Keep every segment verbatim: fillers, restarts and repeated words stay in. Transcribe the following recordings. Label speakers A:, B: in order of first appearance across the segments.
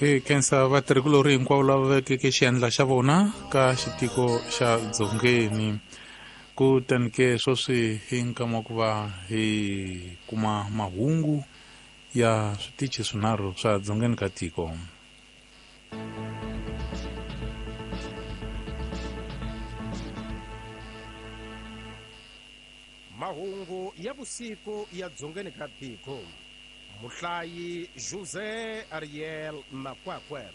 A: Hi khensa vatirhikulorhi hinkwavo lava vekeke xiandla xa vona ka xitiko xa Dzongeni. Kutani ke sweswi hi nkama wa ku va hi kuma mahungu ya switichi swinharhu swa Dzongeni ka tiko.
B: Mahungu ya vusiku ya Dzongeni ka tiko. Muhlayi José Ariel Makwakwe.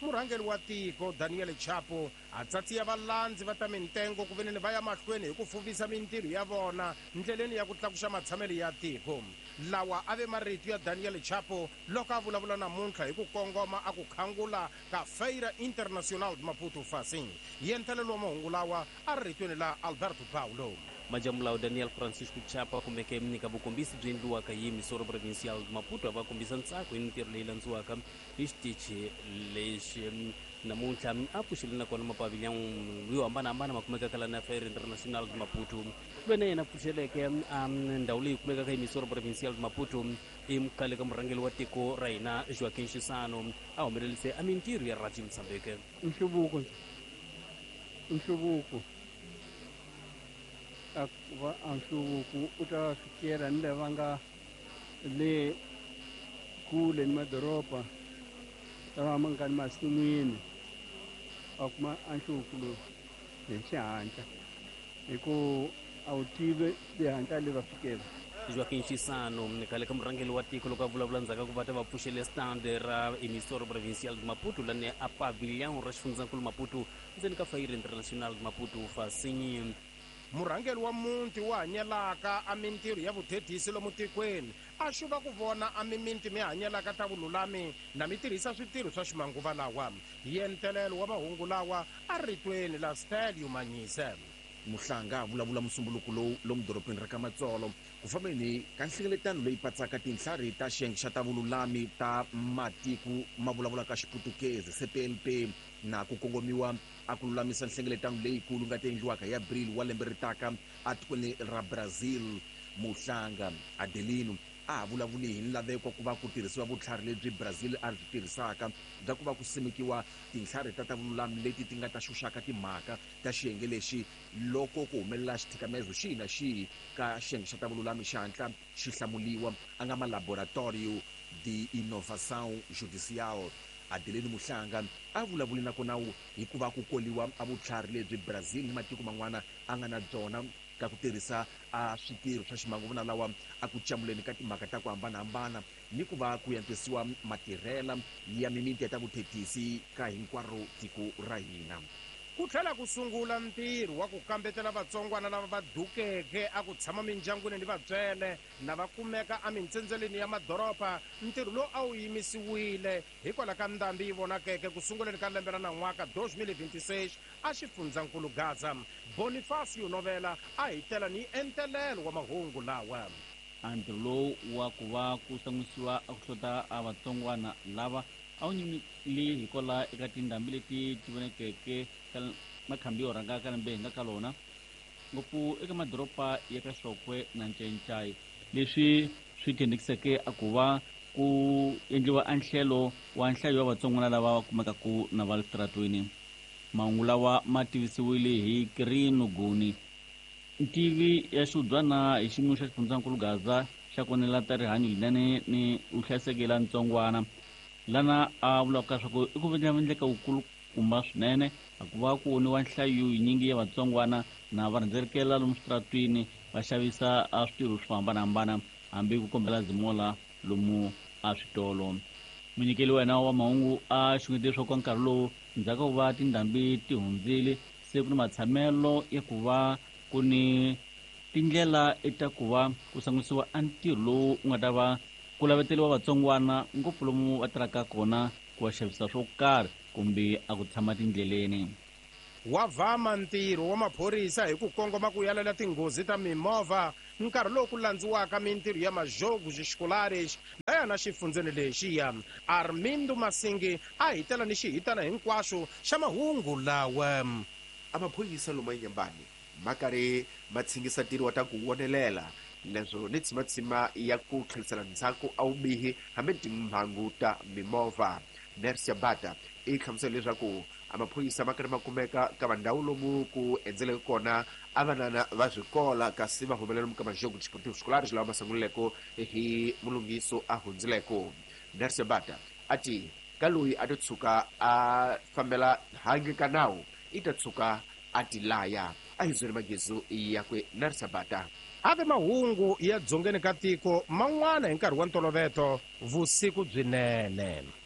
B: Murhangeri wa tiko Daniel Chapo a tsatsiya valandzi va ta mintengo ku veneni va ya mahlweni hi ku fuvisa mintirho ya vona ndleleni ya ku tlakuxa matshamelo ya tiko. Lawa a ve marito ya Daniel Chapo loko a vulavula namuntlha hi ku kongoma a ku khangula ka Feira Internacional de Maputo Facing. Yentelelo wa mahungu lawa a ri ritweni la Alberto Paulo.
C: Majamulawo Daniel Francisco Chapo a kumeke eka vukombisi byi endliwaka hi Misoro Provincial Maputo a va kombisa ntsako hi mintirho leyi landziwaka hi xitichi lexi namuntlha a pfuxile nakona mapavilhão yo hambanahambana ma kumekaka lana Feira Internacional de Maputo. Loyi na yena pfuxeleke ndhawu leyi kumekaka hi Misoro Provincial de Maputo i khale ka murhangeri wa tiko ra hina Joaquim Chissano a humelerise a mintirho ya Radio Mozambique.
D: Nhluvuko nhluvuko a va a nhluvuko u ta fikela ni lava nga le kule ni madoroba lava ma nga ni masin'wini a kuma a nhluvuko lowu hi xihatla hi ku a wu tivi xihatla le va fikela.
C: Joaquim Chissano khale ka murhangeri wa tiko loko a vulavula ndzhaku ka ku va ta va pfuxele stand ra Emissora Provincial de Maputo lani a pavilhão ra xifundzankulu Maputo ndzeni ka Feira Internacional de Maputo Fasinyi.
B: Murhangeri wa muti wa hanyelaka a mintirho ya vuthethisi lomu tikweni a xuva ku vona a miminti mi hanyelaka ta vululami na mi tirhisa switirho swa ximanguva lawa. Yentelelo wa mahungu lawa a ritweni la Stelio Manyise.
E: Muhlanga a vulavula musumbuluko lowu lomu dorobeni ra ka Matsolo ku fambeni ka nhlengeletano leyi patsaka tinhlari ta xiyenge xa ta vululami ta matiko ma vulavulaka Xiputukezi C P L P na ku kongomiwa a ku lulamisa nhlengeletano leyikulu nga ta endliwaka hi Abril wa lembe ri taka atikweni ra Brazil. Muhlanga Adelino a ha vulavuli hi nlaveko ku va ku tirhisiwa vutlhari lebyi Brazil a byi tirhisaka bya ku va ku simekiwa tinhlari ta ta vululami leti ti nga ta xuxaka timhaka ta xiyenge lexi loko ku humelela xithikamezo xihi na xihi ka xiyenge xa ta vululami xi hatla xi hlamuliwa a nga ma Laboratorio de Inovação Judicial. Adelino Muhlanga a vulavuli nakona hikuva ku koliwa a vutlhari lebyi Brazil ni matiko man'wana a nga na byona ka ku tirhisa a switirho swa ximanguva lawa a ku camuleni ka timhaka ta ku hambanahambana ni ku va ku antswisiwa matirhela ya mimiti ya ta vuthethisi ka hinkwaro tiko ra hina.
B: Ku tlhela ku sungula ntirho wa ku kambetela vatsongwana lava va dukeke a ku tshama mindyangwini ni vatswele na va kumeka emintsendzeleni ya madoroba. Ntirho lowu a wu yimisiwile hikwalaho ka ndhambi yi vonakeke ku sunguleni ka lembe ra nan'waka twenty twenty-six a xifundzankulu Gaza. Bonifacio Novela a hi tela ni entelelo wa mahungu lawa.
F: A ntirho lowu wa ku va ku san'wisiwa a ku hlota a vatsongwana lava a wu nyimile hikwalaho eka tindhambi leti ti vonekeke ka makhambi yo rhanga ka lembe hi nga ka lona ngopfu eka madoroba ya ka Xokwe na Ncencai, leswi swi thendekiseke a ku va ku endliwa a nhlelo wa nhlayo wa vatsongwana lava va kumekaku na va le switaratweni. Mahungu lawa ma tivisiwile hi Kirino Guni, ntivi ya xiudyana hi xiyimo xa xifundzankulu Gaza xa konela ta rihanyo linene ni vuhlayiseki la ntsongwana, lana a vulaka leswaku i ku endleka wukulu kumba swinene a ku va ku voniwa nhlayo yinyingi ya vatsongwana na va rhendzelekela lomu switaratwini va xavisa a switirho swo hambanahambana hambi ku kombela zimola lomu a switolo. Munyikeli wa hina wa mahungu a xungete leswaku nkarhi lowu ndzhaku ka ku va tindhambi ti hundzile se ku ni matshamelo ya ku va ku ni tindlela ta ku va ku sangusiwa a ntirho lowu wu nga ta va ku laveteriwa vatsongwana ngopfu lomu va tirhaka kona ku va xavisa swo karhi kumbe a ku tshama tindleleni.
B: Wa vama ntirho wa maphorisa hi ku kongoma ku yalela tinghozi ta mimovha nkarhi lowu ku landziwaka mintirho ya majogos escolares laya na xifundzeni lexiya. Armindo Masingi a hi tela ni xihitana hinkwaxo xa mahungu lawa.
E: A maphorisa lomu eNyembani ma karhi ma tshingisa ntirho wa ta ku vonelela leswo ni tshimatsima ya ku tlherisela ndzhaku a vubihi hambi timhangu ta mimovha.
G: Nersia Bata i hlamusela leswaku a maphorisa ma karhi ma kumeka ka vandhawu lomu ku endzeleke kona a vanana va swikola kasi va humelela lomu ka majogo desportivo escolares lawa ma sungulileko hi mulungiso a hundzileko. Nersia Bata a ti ka loyi a to tshuka a fambela handle ka nawu i ta tshuka a ti laya. A hi zweli magezu yakwe Nersia Bata.
B: Ave mahungu ya dzongeni ka tiko man'wana hi nkarhi wa ntoloveto vusiku byinene.